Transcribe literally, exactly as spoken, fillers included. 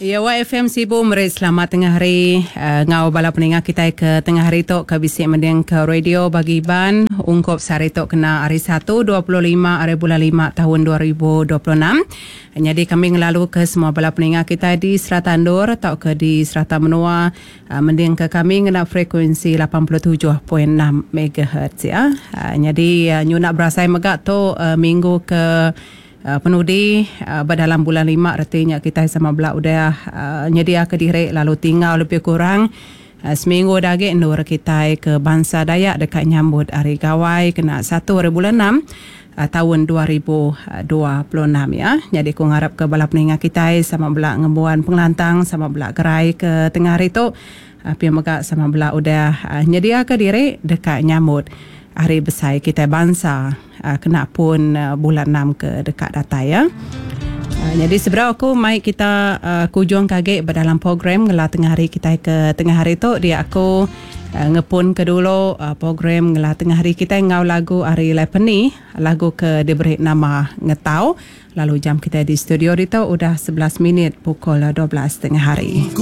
Ya, Y F M Sibu meri selamat tengah hari uh, ngau bala peninga kita ke tengah hari tu ke bisi mending ke radio bagi Iban ungkup sehari tu kena hari satu dua puluh lima hari bulan lima tahun dua ribu dua puluh enam. Jadi kami ngelalu ke semua bala peninga kita di serata endur atau ke di serata menua uh, mending ke kami ngena frekuensi lapan puluh tujuh perpuluhan enam M H Z ya. Uh, jadi uh, nyunak berasai mega tu uh, minggu ke Uh, penudi uh, dalam bulan lima, artinya kita sama bela udah uh, nyedia ke diri lalu tinggal lebih kurang uh, seminggu lagi endur kita ke bangsa Dayak dekat nyambut hari gawai kena satu hari bulan enam uh, tahun dua ribu dua puluh enam ya. Jadi aku ngarap ke bala peninga kita sama bela ngembuan pengelantang, sama bela gerai ke tengah hari tu. Uh, pia mega sama bela udah uh, nyedia ke diri dekat nyambut hari besar kita bangsa uh, kena pun uh, bulan enam ke dekat datai ya. Uh, jadi sebenarnya aku mai kita uh, kujung kage berdalam program ngela tengah hari kita ke tengah hari tu, dia aku uh, ngepun ke dulu uh, program ngela tengah hari kita ngau lagu Ari Lepeni, lagu ke diberi nama Ngetau. Lalu jam kita di studio itu udah sebelas minit pukul dua belas tengah hari.